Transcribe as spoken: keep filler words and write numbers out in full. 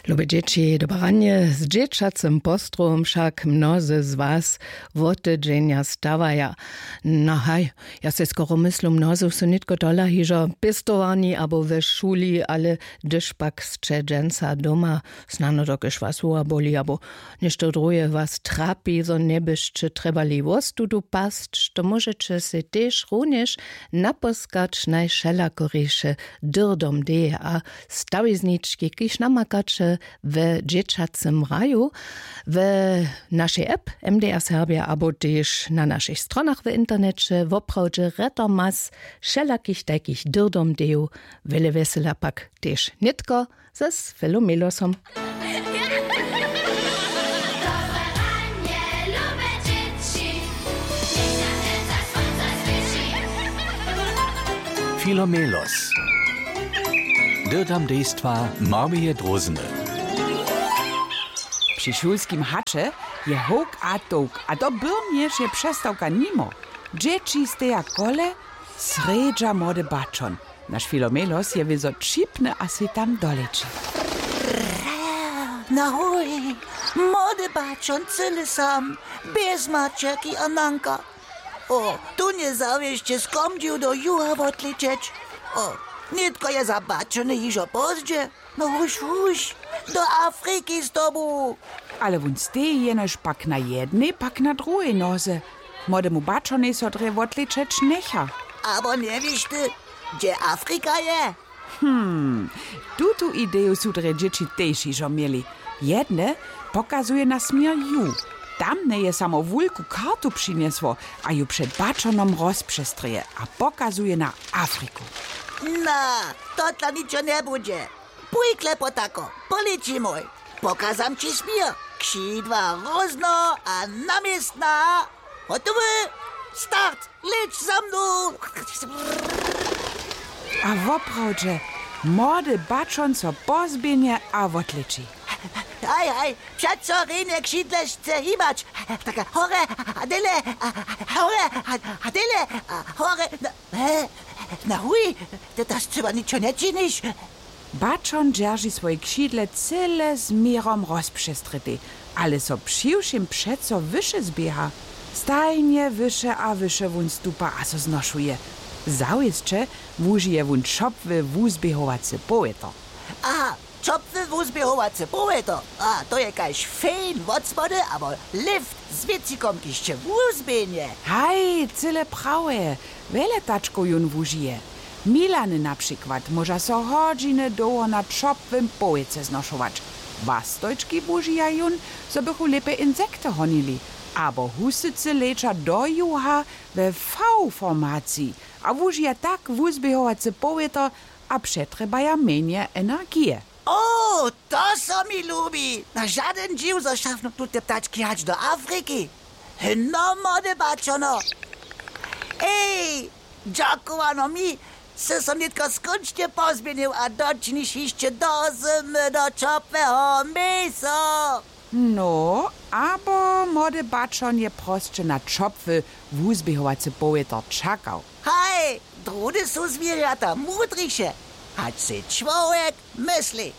Lube dźěći, dobre ranje. Z dźěćacym postrowom wšak mnozy z was wotedźenja stawaja. No haj, ja sej skoro myslu, mnozy su nětko tola hižo w pěstowarni abo we šuli, ale hdyž pak sće dźensa doma, snano dokelž was hłowa boli abo něšto druhe was trapi, zo njebyšće trjebali wostudu pasć, to móžeće sej tež runjež napóskać najwšelakoriše dyrdom deje a stawiznički, kiž namakaće we dźěćacym raju, we našej app M D R Serbja abo tež na našich stronach w interneće. Woprawdźe rjetomas wšelakich tajkich dyrdom dejow, wjele wjesela pak tež nětko z Filomelosom. Filomelos. Dyrdam dejstwa Marmije Drózny. Při šulskim haće je howk a tołk, a do byrnjež je přestawka nimo. Dźěći steja kole, srjedźa młody bačon. Naš Filomelos je wězo ćipny a sej tam doleći. Na huj, młody bačon, cyle sam, bjez maćerki a nanka. O, tu njezawěsće skomdźił do juha wotlećeć. O, nětko je za bačony hižo pozdźe. No huž, huž, do Afriki z tobu. Ale wón steji jenož pak na jednej, pak na druhej noze. Młodemu bačonej so drje wotlećeć njecha. Abo njewěš ty, hdźe Afrika je? Hmm, tutu ideju su drje dźěći tež hižo měli. Jedne pokazuje na směr ju. Tamne je samo wulku kartu přinjesło a ju před bačonom rozpřestrěje a pokazuje na Afriku. Na, to dla ničo njebudźe. Pójkle potako, polećimoj. Pokazam ći směr. Křidła rózno a na městna. Hotowy. Start. Leć za mnu. A woprawdźe, młody bačon so pozběhnje a wotleći. Haj, haj, přeco rjenje křidle sće hibać. Tak, hore a dele, a, a, hore a, a dele, a, hore. Na, he, na huj, ty to scyła ničo nječiniš. Bačon dźerži swoje křidle cyle z měrom rozpřestrětej, ale so přiwšěm přeco wyše zběha. Stajnje wyše a wyše wón stupa a so znošuje. Zawěsće wužije wón ćopły wuzběhowacy powětor. Aha, ćopły wuzběhowacy powětor. A to je kaž fejn wotspody abo lift z wěcikom, kiž će wuzběhnje. Haj, cyle prawje. Wjele tačkow jón wužije. Milany na přikład móža so hodźiny dołho na ćopłym powětře znošować. Wastojčki wužija jón, zo bychu lěpje insekty honili. Abo husycy leća do juha we V-formaciji a wužija tak wuzběhowacy powětor a přetrjebaja mjenje energije. O, to so mi lubi. Na žadyn dźiw, zo šafnu tute ptački hač do Afriki. Hno, młody bačono. Ej, dźakowano mi, sy so nětko skónčnje pozběhnył a dočiniš hišće do zymy do ćopłeho měsa. No, abo młody bačon je prosće na ćopły wuzběhowacy powětor čakał. Haj, druhdy su zwěrjata mudriše, hač sej čłowjek mysli.